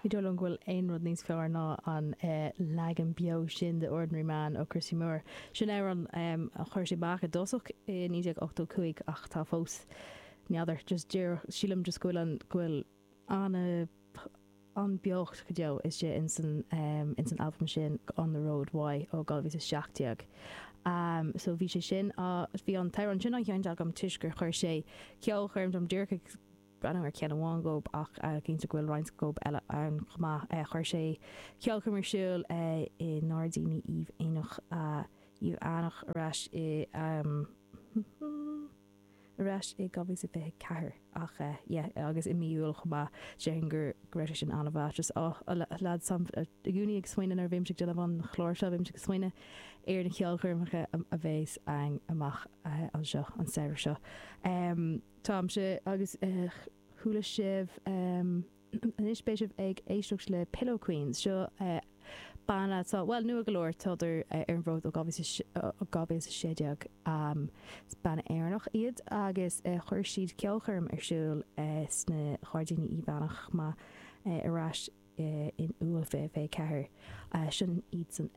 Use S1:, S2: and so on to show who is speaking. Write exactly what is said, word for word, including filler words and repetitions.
S1: Ní dóigh liom go bhfuil aon rud níos fearr ná an leagan beo sin de Ordinary Man ó Christy Moore. Sin amhrán a chuir sé amach i dtosach i naoi déag ochtó cúig ach tá fós, n'fheadar, just díreach, sílim just go bhfuil an, go bhfuil an, an beocht go deo istigh ins an, ins an albam sin On the Road Why ó dhá mhíle is a seacht déag. So bhí sé sin á, bhí an t-amhrán sin á sheinnt agam toisc gur chuir sé ceolchoirm dom díreach ag, breathnú ar cheann amháin dhób ach cinnte go bhfuil roinnt dhób eile ann chomh maith. Chuir sé ceolchoirm ar siúl i nGairdíní Uíbh Eanach, Uíbh Eanach ar ais i ar ais i dhá mhíle is fiche ceathair ach yeah agus i mí Iúil chomh maith. Déarfainn go raibh sé sin an-mhaith. Just oh lads, táim i gcónaí ag smaoineamh nuair a bhímse ag déanamh an chláir seo, bímse ag smaoineamh ar na ceolchoirmeacha a bheas ann amach anseo an samhradh seo. Táimse agus chuala sibh anois beidh sibh ag éisteacht le Pillow Queens. Seo banna atá, bhuel, nua go leor, tádar ar an bhfód ó dhá mhíle is a sé déag. Is banna Éireannach iad agus chuir siad ceolchoirm ar siúl sna Gairdíní Uíbh Eanach chomh maith ar ais in Iúil fiche fiche ceathair. Sin iadsan.